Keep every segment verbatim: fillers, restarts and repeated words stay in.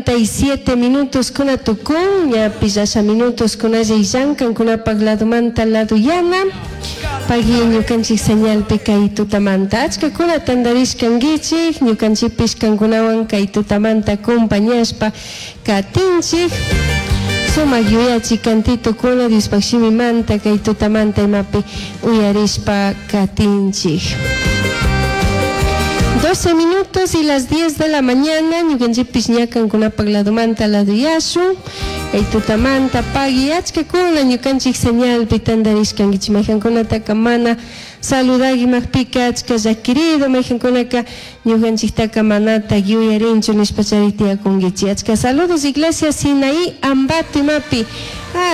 Y siete minutos kuna tukun, ñapish asha minutos kunalla illankan kunapak ladumanta laduyana. Pagui ñukanchik señalpi kay tutamanta. Achkakuna tandarishkankichik, ñukanchikpish kankunawan kay tutamanta compañashpa katinchik. Sumak yuyachi kantitukuna Diospaq shimimanta kay tutamanta imapi uyarishpa katinchik. doce minutos y las diez de la mañana, ñukanchikpish ña kankunapak ladumanta laduyashun. Kay tutamanta pagui achkakuna ñukanchik señalpi tandarishkankichik, mayjankunataka mana saludagimajpika achka llakirido, mayjankunaka ñukanchiktaka manata yuyarinchu nishpa chari tiyakunkichik. Achka saludos Iglesia Sinaí Ambato imapi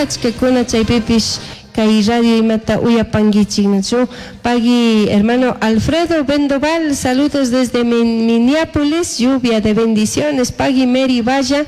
achkakuna chaypipish kay radio imata uyapankichik, nachu. Pagui hermano Alfredo Bendoval, saludos desde Minneapolis, lluvia de bendiciones. Pagui Mary Valla,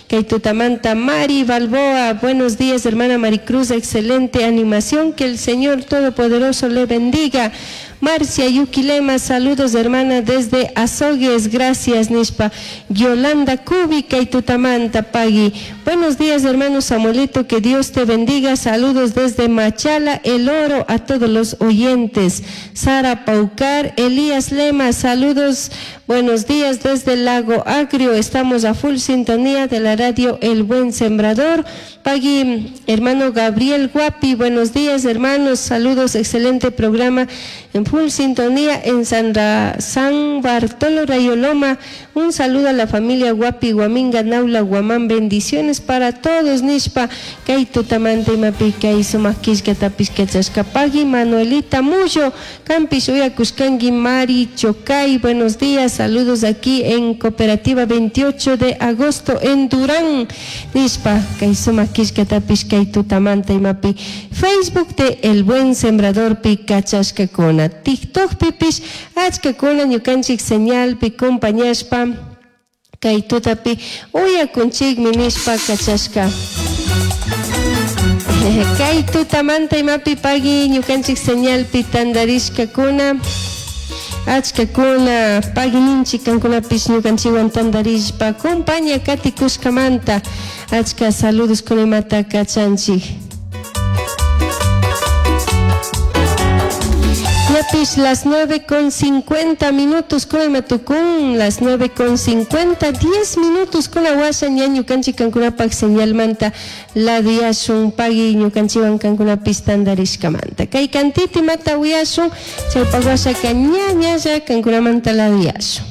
kay tutamanta Mari Balboa, buenos días hermana Maricruz, excelente animación, que el Señor Todopoderoso le bendiga. Marcia Yuquilema, saludos hermana desde Azogues, gracias nishpa. Yolanda Cubi, kay tutamanta pagui. Buenos días hermano Samuelito, que Dios te bendiga, saludos desde Machala, El Oro, a todos los oyentes. Sara Paucar, Elías Lema, saludos, buenos días desde Lago Agrio, estamos a full sintonía de la radio El Buen Sembrador. Pagui, hermano Gabriel Guapi, buenos días hermanos, saludos, excelente programa en full sintonía en San, Ra, San Bartolo Rayoloma. Un saludo a la familia Guapi, Guaminga, Naula, Guamán, bendiciones para todos, nishpa, kay tutamanta imapi kay sumak killkatapish kachashka. Pagui Manuelita Mullo, Campish uyakushkanki Mari Chocay, buenos días, saludos aquí en Cooperativa veintiocho de agosto en Durán, nishpa, kay sumak killkatapish kay tutamanta imapi Facebook de El Buen Sembrador pi kachashkakuna, TikTok pipish achkakuna ñukanchik señalpi compañashpa kay tutapi uyakunchikmi nishpa kachashka. Kay tutamanta imapi pagui ñukanchik señalpi tandarishkakuna achkakuna pagui ninchik kankunapish ñukanchikwan tandarishpa compaña katikushkamanta achka saludos kunimata kachanchik. Ñapish las nueve con cincuenta minutos con matucún, las nueve con cincuenta, diez minutos con la guasa ña ñukanchik kankunapak señalmanta laduyashun pagui ñukanchikwan kankunapis tandarishkamanta. Kay kantiti mata uyashun, chaypak wasaka ña ñalla kankunamanta laduyashun.